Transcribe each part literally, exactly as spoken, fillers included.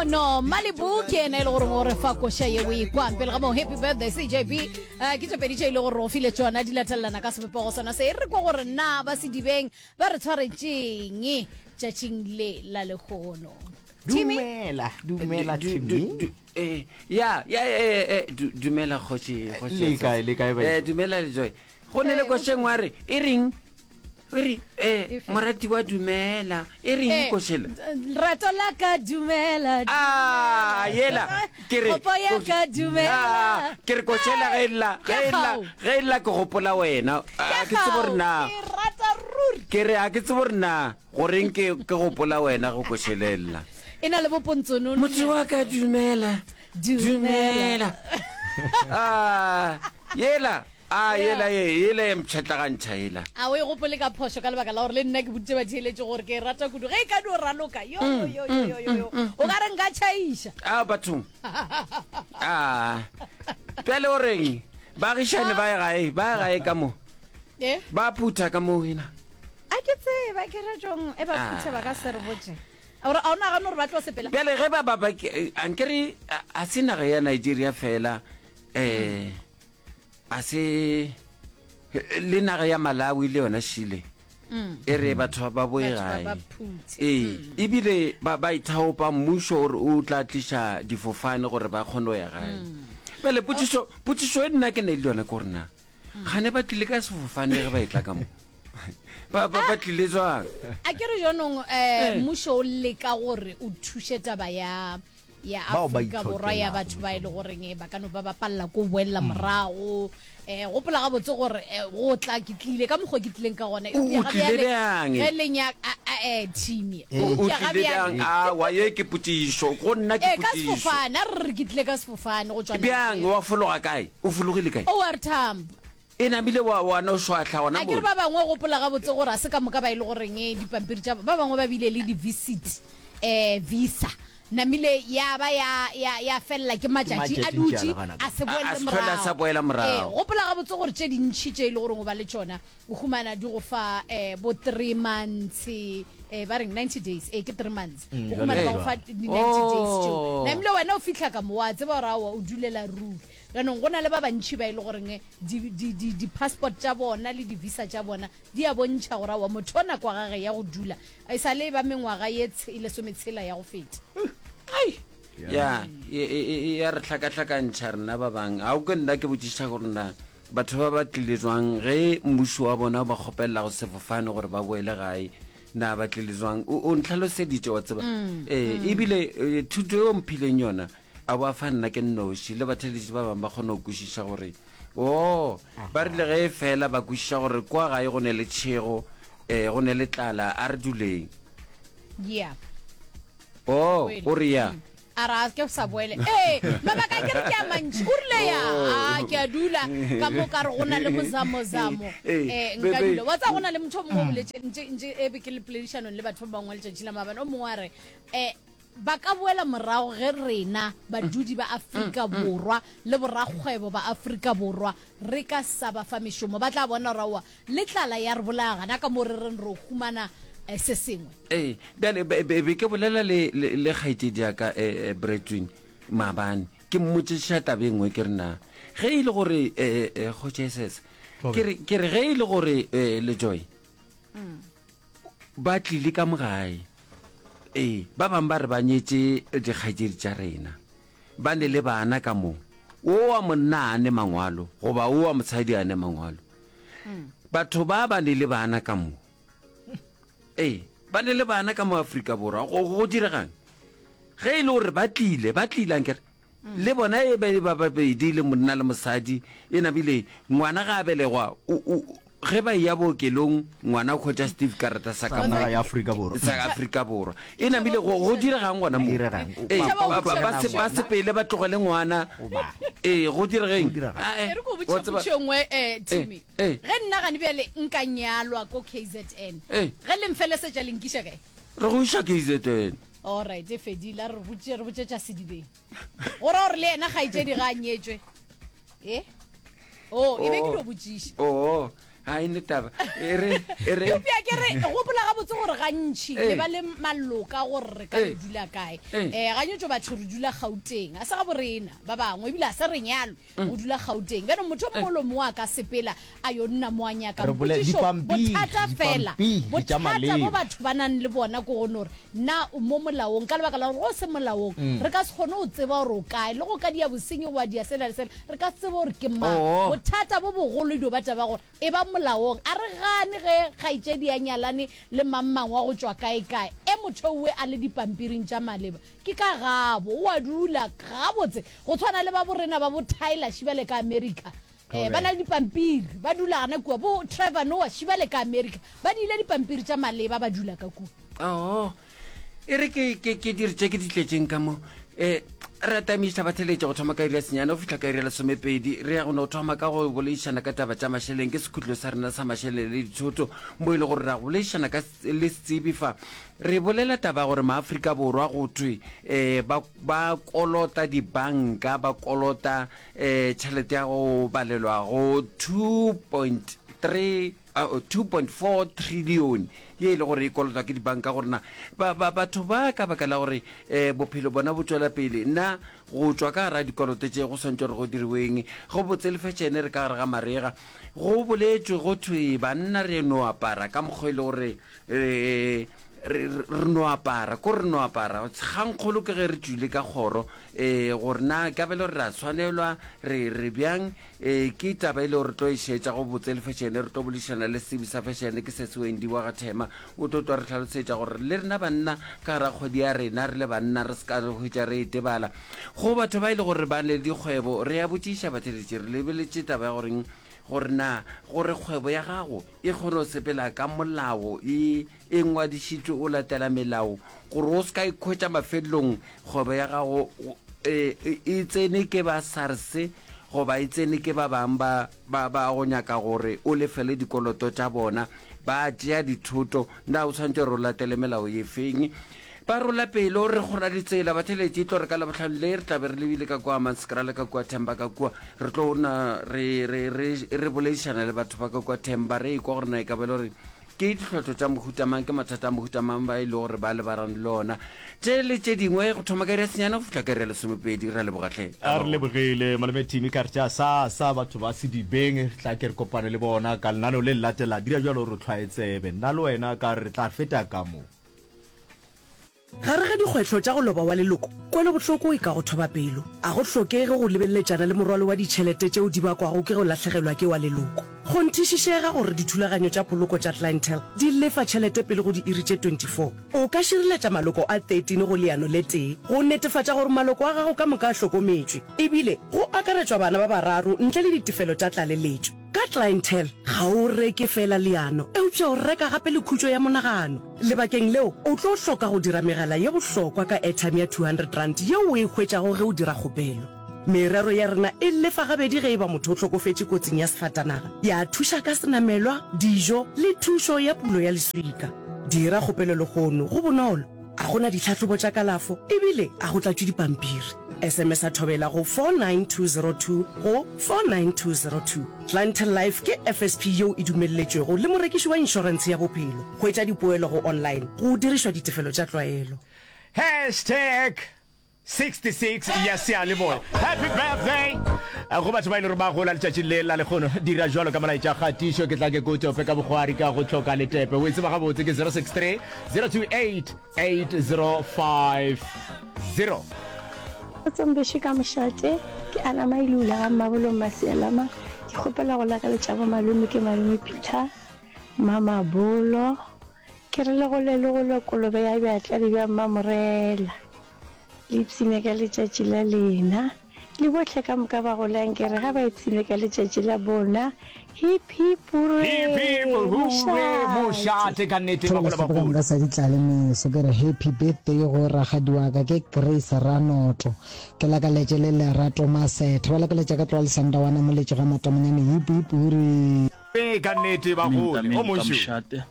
Lehono Malibu ke ena e le gore o re fa koša ye o e kwang pele ga moo happy birthday C J B. Eh, ke tše pedi tše e le gore o file tšona di latelelana ka sebopego sona se. E re kwa gore na ba sedibeng ba re tshwaretšeng tšatšing le la lehono, Timmy? Dumela, dumela. Du- du- Timmy. du- eh, ya ya eh, eh, du- dumela kgoši, kgoši. Le kae, le kae, baeti? Eh, dumela Lejoy. Go ne le košeng wa re e reng e re eh morati wa dumela e reng Eh, košela? Rato la ka dumela. Ah, yela ke re Kopo ya ka dumela. Ah, ke re košela ge e lla, Ke ge e lla gao. ge e lla ke gopola wena. Ah, ke tsebo gore na Ke rata ruri. Ke re a ke tsebo gore na goreng ke ke gopola wena go košelela. E na le bopontsonono. Motho wa ka dumela. Dumela. Dumela. Ah, yela a yela ye yela ye mpšhatlagantšha yela. A o e gopole ka phošo ka lebaka la gore le nna ke boditše batheeletše gore ke e rata kudu. Ge e ka dio raloka yo yo yo yo yo yo yo o ka re nka tšhaiša. A bathong, a bjale o reng baagišane ba ye gae, ba ye gae ka mo? Eh? Ba phutha ka mo wena. A ke tseba ke re jong e ba phuthe, ba ka se re botse. Gore a o nagane gore ba tlo sepela? Bjale ge ba ba ba ke- ankere a a se naga ya Nigeria fela, um a se le naga ya Malawi le yona šile e re batho ba boe Batho ba gae. ba phuthe. Ee, ebile ba ba ithaopa, mmušo gore o tla tliša difofane gore ba kgone go ya gae. Bjale potšišo potšišo e nna ke ne le yona ke gore na gane ba tlile ka sefofane ge ba e tla ka mo, ba ba ba tlile jwang? A ke re jaanong um mmušo o leka gore o thuše taba ya ya Bao ba Afrika Borwa ya itlhokelago. Batho ba e le goreng eh, ba ka no ba ba palela ko boelela morago. um gopola gabotse gore eh, go tla ke tlile ka mokgwa ke tlileng ka gona. O- o Eupša ga tlile bjale, bjang? ge le nyaka um team o o eupša ga tlile bjale bjang? Awa, ye ke potšišo go nna, ke ee, ka potšišo. sefofane. A re re ke tlile ka sefofane go tswa Bjang? Wa fologa kae? O fologile kae? O R Tambo. E namile wa wa no šwahla gona A ke re mo. ba bangwe, gopola gabotse gore a se ka moka ba e le goreng eh, dipampiri tša ba bangwe ba bile le di-visit um visa namile ya ba ya ya ya felela ke matšatši a Matšatši dutše ntše a le gona. A se A- a boele se hlole a sa boela morago. Ee, gopola gabotse gore tše dintšhi tše e le goreng o ba le tšona o humana di go fa um bo three months, um ba reng ninety days, ee, ke three months. Mm, O humana jwale ba go fa jwalo. di-ninety days tšeo. Oh. Namile wena o fitlha ka mo wa tseba gore aowa o dulela ruri. Jaanong go na le ba bantšhi ba e le goreng di- di- di- di-passport tša bona le di-visa tša bona di a bontšha gore aowa motho o nako ya gage ya go dula e sa le ba mengwaga ye tshe- e lesometshela ya go feta. Ai ya e- e- e- ya re hlakahlakantšha rena ba bang. Ga o ke nna ke botšiša gore na batho ba ba tlile jwang ge mmušo wa bona o ba kgopelela go sefofane gore ba boele gae, na ba tlile jwang? O o ntlhaloseditše wa tseba. Ee, ebile eh, thuto eo mphileng yona a ba fa nna ke nnoši le batheletši ba bangwe ba kgone go kwešiša gore o ba rile ge e fela ba kwešiša gore kwa gae go ne le tšhego, um go ne le tlala, a re duleng. Yeah. O Boele. o re ya. A re a ke sa boele. Ee, mabaka a ke re ke a mantši. O rile ya a ke a dula ka mo ka re go na le mozamozamo. Eh, um nka bebe. dula wa tsa go na le motho o mongwe o boletse ntse ntse e be ke le poledišanong le batho ba bangwe letšatši la maabane. O mongwe a re um ba ka boela morago ge rena badudi ba Afrika Borwa le borakgwebo ba Afrika Borwa re ka sa ba fa mešomo, ba tla bona gore aowa le tlala ya re bolaya gana ka mo re reng re humana eh, se sengwe. Ee, bjale be be- be ke bolela le le le kgaetšedi ya ka eh, eh, Bretwin maabane, ke mmotšiša taba e nngwe. Ke re na ge e le gore eh, eh, go Jesus, ke re ke re ge e le gore eh, Lejoy ba tlile ka mo gae, ee, ba bangwe ba re ba nyetše dikgaetšedi tša rena, ba ne le bana ka mo, o wa monna a ne mangwalo goba o wa mosadi a ne mangwalo, batho ba ba ne le bana ka mo, ee, ba ne le bana ka mo Afrika Borwa, go go diregang ge e le gore ba tlile ba tlile ankere le bona e be ba babedi le monna le mosadi, e nabile ngwana ga a belegwa, o- o- ge ba ya bookelong ngwana o hwetša certificate sa ka Sa mo naga ya Afrika Borwa. Sa Afrika Borwa. E namile go go diregang gona mo? Diregang? Ee, Tšhaba ba- ba- ba se- ba sepele ba tlogele ngwana. Goba. Ee, go diregeng? Go diregang? Ah, eh, E re ko wa botšiša tseba- potšišo nngwe, um Timmy. Eh, eh. Ge nna gane bjale nka nyalwa ko K Z N, Eh. ge le mfelesetša le nkiša kae? Re go iša K Z N. Allright, e fedile. A re botše re botšetša sedibeng go ra gore le yena kgaetšedi ga a nyetšwe e o e be ke dio botšiša. Oo, Ga e ne taba. E re e re Eupša ke re gopola gabotse gore gantši Ee. le ba le maloka gore re ka Ee. le dula kae. Ee. Um ganyetšo batho re dula Gauteng, a se ga borena ba bangwe ebile a se re nyalwe go dula Gauteng. Bjale motho o mongwe le o mongwe a ka sepela a yo nna mo a nyakang. Re bole- Potšišo, dipampiri, bothata fela, dipampiri tša bothata maleba. bo batho ba nang le bona ke gone gore na o mo molaong, ka lebaka la gore go se molaong re ka se kgone go tseba gore o kae, le go ka dia bosenyi goba dia sela le sela, re ka se tsebe gore ke mang. Oo. Bothata bo bogolo e dio ba taba gore e ba molaong. A re gane ge kgaetšedi ya nyalane le mang-mang wa go tšwa kae-kae, e motho owe a le dipampiring tša maleba, ke ka gabo, o a dula gabotse, go tshwana le ba borena ba bo Tyler Shibale ka America. Eh, ba na le dipampiri, ba dula gana kua, bo Trevor Noah Shibale ka America, ba diile dipampiri tša maleba, ba dula ka kua. Oo, e re ke ke ke dire tše ke di tletšeng ka mo. Eh, re atamiša batheletše go thoma ka iri ya senyane go fihla ka iri ya lesomepedi. Re ya go no thoma ka go boledišana ka taba tša mašeleng. Ke sekhutlo sa rena sa mašeleng le dithoto, mo e le gore ra go boledišana ka s-, le setsebi fa. Re bolela taba ya gore maAfrika Borwa go thwe, eh, ba, ba kolota dibanka, ba kolota, eh, tšhelete ya go balelwa go two point three, uh, two point four trillion ye e le gore e kolotwa ke dibanka. Gore na ba, ba, batho ba ka baka la gore, eh, bophelo bona bo tšwela pele, na go tšwa ka gara dikoloto tše go swantšwe gore go diriweng? Go botse le fashion re ka gare ga marega, go boletšwe go thwe banna re no apara ka mokgwa e le gore, eh, re, re, re no apara, ko re no apara. Kgangkgolo ke ge re tšwile ka kgoro, eh, gore na ka bele gore ra tshwanelwa, re, re bjang, eh, ke taba e le gore re tlo e šetša go botse le fashion. Re tlo boledišana le setsebi sa fashion ke Sesi Wendy wa ga Thema, o tlo tlo re hlalosetša gore le rena banna ka gara kgwedi ya rena re le banna re se ka re hwetša re e tebala. Go batho ba e le gore ba ne le dikgwebo, re ya botšiša batheletši, re lebeletše taba ya goreng gore na gore kgwebo ya gago e kgone go sepela ka molao, e, e ngwadišitšwe o latela melao, gore o se ka ikhwetša mafelelong kgwebo ya gago, e, e, e tsene ke ba SARS goba e tsene ke ba bang ba, ba, ba go nyaka gore o lefele dikoloto tša bona, ba tšea dithoto. Na o tshwanetse gore o latele melao e feng? Ba rola pelo re kgona ditsela batheletši, tlo re ka Labohlano le re tla be re lebile ka kua Hammanskraal, ka kua Themba, ka kua re tlo na re, re, re, re boledišana le batho ba ka kua Themba, re ekwa gore na e ka ba e le gore ke ditlhotlo tša mohuta mang, ke mathata a mohuta mang ba e le gore ba lebarang le ona. Tše le tše dingwe go thoma ka iri ya senyane go fihla ka iri ya lesomepedi. Re a leboga hle. A re lebogile malome Timi ka re tša sa sa batho ba sedibeng, re tla ke re kopane le bona ka lenaneo le le latela. Dira bjalo re hlwae tsebe, nna le wena ka re tla feta ka mo. Gare ga dikgwetlho tša go loba wa leloko, kwelobohloko e ka go thoba pelo. A go hlokege go lebeletšana le morwalo wa ditšhelete tšeo di bakwago ke go lahlegelwa ke wa leloko. Kgonthišišega gore dithulaganyo tša poloko tša Clientele di lefa tšhelete pele go diiri tše twenty-four. O ka šireletša maloko a thirteen go leano le tee go netefatša gore maloko a gago ka moka a hlokometšwe, ebile go akaretšwa bana ba bararo ntle le ditefelo tša tlaleletšo. Ka Clientele ga o reke fela leano, eupša o reka gape le khutšo ya monagano. Lebakeng leo, o tlo hloka go dira megala ye bohlokwa ka airtime ya two hundred rand yeo o e hwetšago ge o dira kgopelo. Merero ya rena e lefa gabedi ge e ba motho o hlokofetše kotsing ya sefatanaga, ya thuša ka senamelwa, dijo le thušo ya pulo ya leswika. Dira kgopelo lehono, go bonolo, a go na ditlhahlobo tša kalafo ebile a go tlatšwe dipampiri. S M S a thobela go four nine two zero two go four nine two zero two. Clientele Life ke F S P yeo e dumelletšwego le morekiši wa inšorentshe ya bophelo. Hwetša dipoelo go online go dirišwa ditefelo tša tlwaelo. Hashtag sixty-six ya seyalemoya. Happy birthday go batho ba e le gore ba gola letšatši le la lekgono. Dira jwalo ka molaetša kgatišo, ke tla ke ko tope ka bokgwari ka go hloka letepe. O e tseba gabotse ke zero six three, zero two eight, eight zero five zero. Tsombeše ka mošate, ke Ana Mailula ga Mmabolong Masialama. Ke kgopela go lakaletša bo malome ke malome Peter, Mama Bolo. Ke re le gole le gole kolobe ya bjatla le bja Mmamorela. Le ipshine ka letšatši la lena. Le bohle ka moka ba golang ke re ga ba ipshine ka letšatši la bona. Hip hip hooray, Hip hip hooray, mošate ka nnete ba gola ba Thola gola. ka sa ditlale meso, ke re happy birthday go rakgadi wa ka ke Grace Ranoto. Ke lakaletše le Lerato Masethe, ba lakaletša ka tloga le Sandawana moletše ga Matamonyane. Hip hip hooray. Ee, ka nnete ba Amen, gole. amen, O ka mošo. mošate,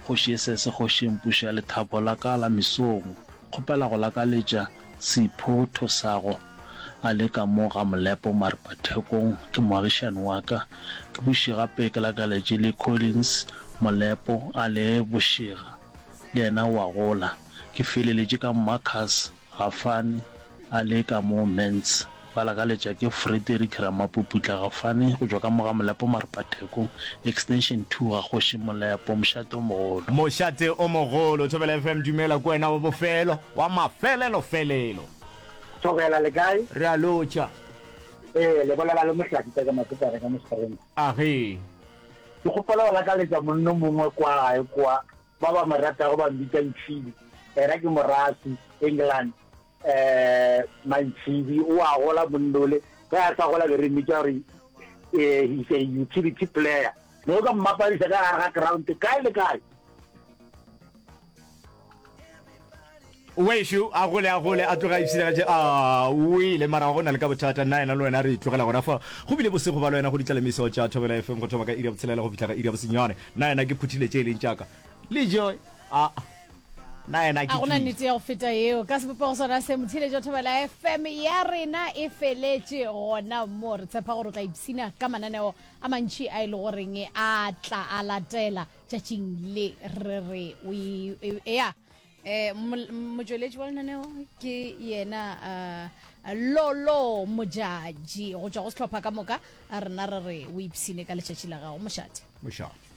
kgoši e sese, kgoši e mpuša ya lethabo la ka la mesong. Kgopela go lakaletša Sipho Thosago a le ka mo ga Molepo Maripathekong, ke moagišani wa ka. Ke buše gape ke lakaletše le Collins Molepo a le Bošega, le yena o a gola. Ke feleletše ka Marcus Gafane a le ka mo Mentz. Ba lakaletša ke Frederick Ramapuputla Gafane go tšwa ka mo ga Molepo Maripathekong, Extension two ga Kgoši Molepo, mošate o mogolo. Mošate o mogolo, Thobela F M, dumela, ke wena wa bofelo, wa mafelelofelelo. Thobela, le kae? Re a lotšha. Ee, le bolela le Mohlaki ka Maputare ka mo Springs. Age. Ke kgopela go lakaletša monno mongwe kwa gae kwa, ba ba mo ratago ba mbitša Ntšhibi, era ke Morasi, England. Eh, Mantšhibi o a gola monnole, ge a sa gola be re mmitša gore eh, he's a utility player. Ne o ka mmapadiša ka gare ga ground kae le kae. Wešo a gole, a gole, a tloga a ipshinegetše, a o ile, mara go na le ka bothata, nna yena le wena re tlogela gona fa. Go bile bosego ba le wena go ditlalemiso tša Thobela F M go thoma ka iri ya botshelela go fihla ka iri ya bosenyane. Nna yena ke phuthile tše e leng tša ka. Le Joy, a nna yena ke A gona tšwile. nnete ya go feta yeo. Ka sebopego sona se, motheeletši wa Thobela F M ya rena e feletše gona mo. Re tshepa gore o tla ipshina ka mananeo a mantši a e le goreng a tla a latela tšatšing le re re o e, e, ya. Eh, motšweletši wa lenaneo ke yena uh, Lolo Mojaji go tšwa go sehlopha ka moka. A rena re re o ipshine ka letšatši la gago. Mošate. Mošate.